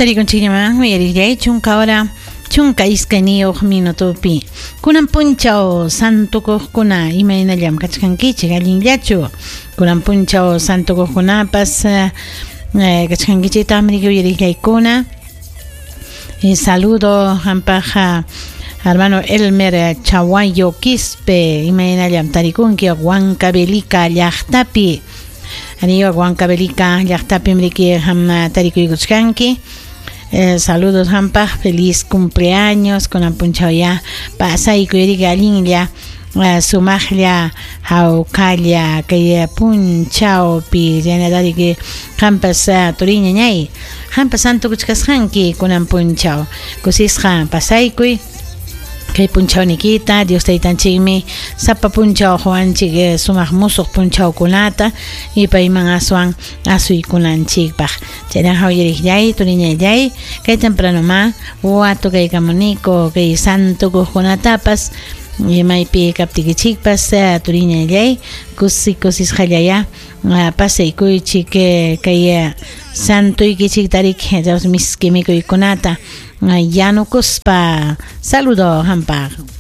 Tarikunchikñaman uyariqllay 10 hora 12 minutopi. Kunan punchaw santukuqkuna imaynallam kachkankichik, allinllachu? Kunan punchaw santukuqkunapas kachkankichiktaqmi uyariqllaykuna. Saludo hampaq hermano Elmer Chawayo Quispe, imaynallam tarikunki Huancavelica llaqtapi. Aniwa Huancavelica llaqtapim riki ham tarikuykuchkanki. Saludos hampaq, feliz cumpleaños, kunan punchaw ya pasaykuy riki allinlla sumaqlla hawkalla kay punchawpi chaynata qampas turiñañay qampas santukuchkasqanki kunan punchaw kusisqa pasaykuy kay punchawnikita. Dios taytanchikmi sapa punchaw quwanchik sumaq musuq punchawkunata y payman aswan asuykunanchikpaq. Chaynaqa uyariqllay turiñallay kay tempranoma watukaykamuniko kay santukuqkunatapas maypi kaptikichikpas turiñallay kusi kusisqallaya pasaykuychik kay santuykichik tarik miski mikuykunata yanukuspa. Saludo hampaq.